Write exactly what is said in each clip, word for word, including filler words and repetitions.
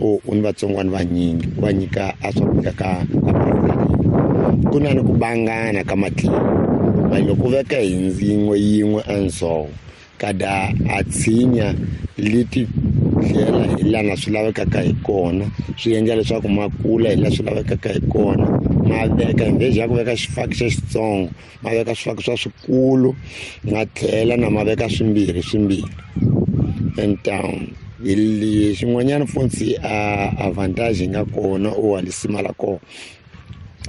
O u ni vatsongwana vanyingi u va nyika a swakudya ka ka ku na ni ku bangana ka matlhelo ma loko u veka hi yin'we yin'we a ndzhoho kada a tshinya leti tlhela hi lana swi lavekaka hi kona swi endla leswaku ma kula hi laha swi lavekaka hi kona ma veka hi ya ku veka xifaki xa xitsongo ma veka swifaki swa swikulu ma tlhela na ma veka swimbirhi swimbirhi and um hi xin'wanyana futhi a advantage yi nga kona u lisima la kona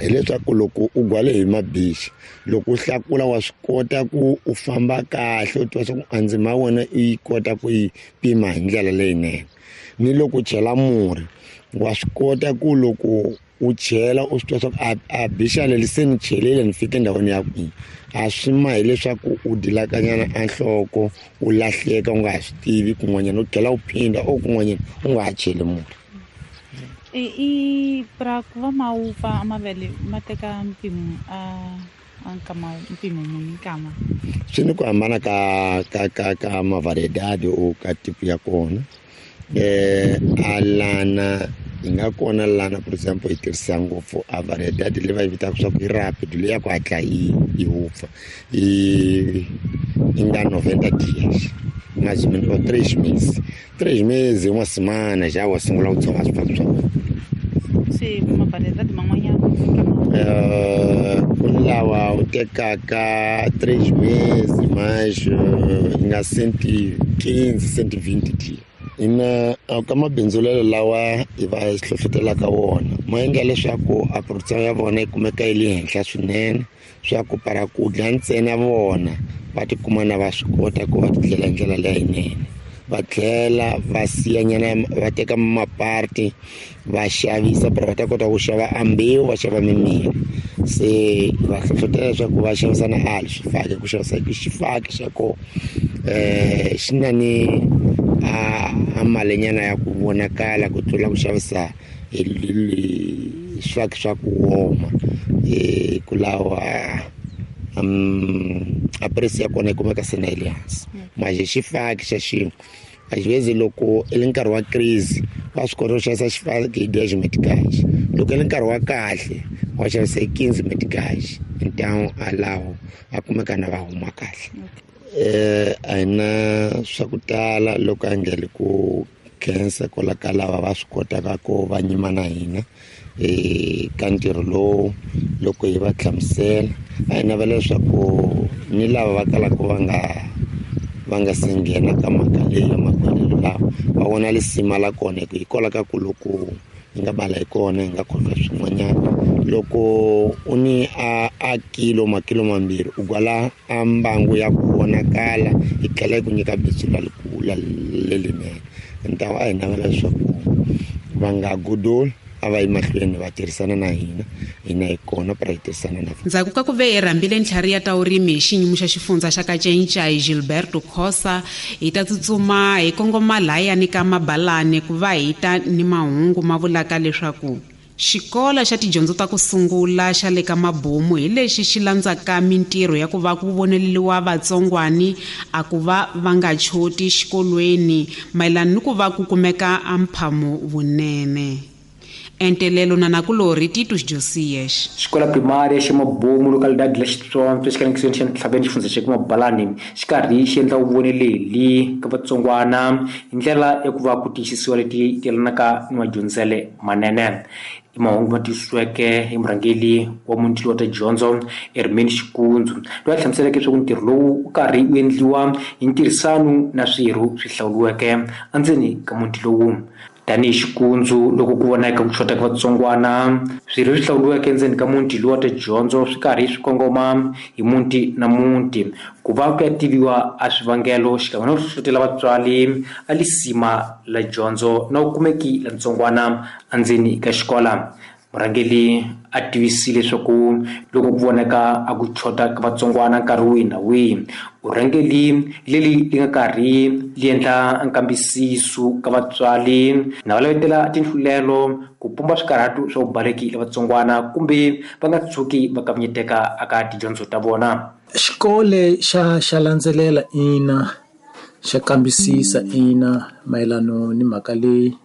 hileswaku loko u gwale hi mabichi loko u hlakula wa swi kota ku u famba kahle u tiva swa ku a ndzima ya wena i yi kota ku yi pima hi ndlela leyinene ni loko u chela murhi wa swi kota ku loko u chela u swi tiva swa ku a a bixa leri se ni chelile ni fike endhawini ya kwihi a swi ma hileswaku u dilakanyana a nhloko u lahleka u nga ha swi tivi kun'wanyana u tlhela u phinda o kun'wanyana u nga ha cheli murhi. I i pra ku va ma wupfa mavele ma teka mpimo a a nkama mpimo muni nkama swi ni ku hambana ka ka ka ka mavariedade o ka tipo ya kona eh alana yi nga kona lana for example yi tirhisa ngopfu a variedade leyi va yi vitaka swa ku i rapid leyi ya ku hatla yi yi wupfa yi yi nga noventa dias mais ou menos ou três meses três meses uma semana já wa sungula ku tshova swifaki swa wena. Se mavariedade man'wanyana Eh, ku ni lawa u tekaka três meses mais yi nga cento e quinze cento e vinte dias ina ka mabindzulelo lawa hi va hi hlohlotelaka wona ma endla leswaku a production ya vona yi kumeka yi le henhla swinene swa ku para ku dya ntsena vona va tikuma na va swi kota ku va tindlela hi ndlela leyinene va tlhela va siyanyana va teka maparti va xavisa para va ta kota ku xava a mbewu va xava mimirhi se va hlohlotela leswaku va xavisa na ali swifaki ku xavisa hi xifaki xa kona eh xi na ni a a malinyana ya ku vonakala ku tlula ku xavisa hi swifaki swa ku woma eh ku lawa um a price ya kona yi kumeka se na yi le hansi manje xifaki xa xin'we às vezes loko i le nkarhi wa crise wa swi kota ku xavisa xifaki hi dez meticais loko i le nkarhi wa kahle wa xavisa hi quinze meticais então a lawo a kumeka na va huma kahle eh a hi na swa ku tala loko a ngele ku khensa kwala ka lava va swi kotaka ku va nyima na hina eh ka ntirho lowu loko hi va hlamusela a hi navela leswaku ni lava va kalaka va nga va nga se nghena ka mhaka leyi ya makhwelelo lawa va vona lisima la kona hi ku hikwalaho ka ku loko hi nga bala hi kona hi nga khohlwa swin'wanyana loko u ni a a kilo makilo mambirhi u gwala a mbangu ya ku vonakala yi tlhela yi ku nyika bindzu la lerinene ntawo a hi navela leswaku va nga godoli a va yi mahlweni va tirhisana na hina hina hi kona para hi tirhisana na vona. Ndzhaku ka ku ve hi rhambile ntlhari ya ta vurimi hi xinyimo xa xifundza xa Kacencai Gilberto Khosa hi ta tsutsuma hi kongoma lahayani ka Mabalani ku va hi ta ni mahungu ma vulaka leswaku xikolo xa tidyondzo ta ku sungula xa le ka Mabomu hi lexi xi landzaka mintirho ya ku va ku voneleliwa vatsongwani a ku va va nga choti xikolweni mayelana ni ku va ku kumeka a mphamo vunene. Entelelo na nakulorhi Titus Josias. Xikola primária xa Mabomu localidade la Xitsonga xikanekisweni xa Ntlhaveni xifundza xa Mabalani xi karhi xi endla vuvoneleli ka vatsongwana hi ndlela ya ku va ku tiyisisiwa leti yelanaka ni madyondzele manene. I mahungu ma tiyisisiweke hi murhangeri wa muti wa tidyondzo Herman Xikundzu loyi a hlamuseleke leswaku ntirho lowu wu karhi wu endliwa hi ntirhisano na swirho swi hlawuriweke endzeni ka muti lowu. Tanihi Xikundzu loko ku vonaka ku xota ka vatsongwana swirho swi hlawuriweke endzeni ka muti lowu wa tidyondzo swi karhi swi kongoma hi muti na muti ku va ku ya tiviwa a swivangelo xikan'we na ku hlohlotela vatswari a lisima la dyondzo na vukumeki la ntsongwana endzeni ka xikola. Murhangeri a tivisile leswaku loko ku vonaka a ku xota ka vatsongwana nkarhi wihi na wihi vurhangeri leri li nga karhi li endla nkambisiso ka vatswari na va lavetela tinhlulelo ku pumba swikarhatu swa vubaleki la vatsongwana kumbe va nga tshuki va kavanyeteka eka tidyondzo ta vona. Xikolo xa xa landzelela ina xa kambisisa ina mayelano ni mhaka leyi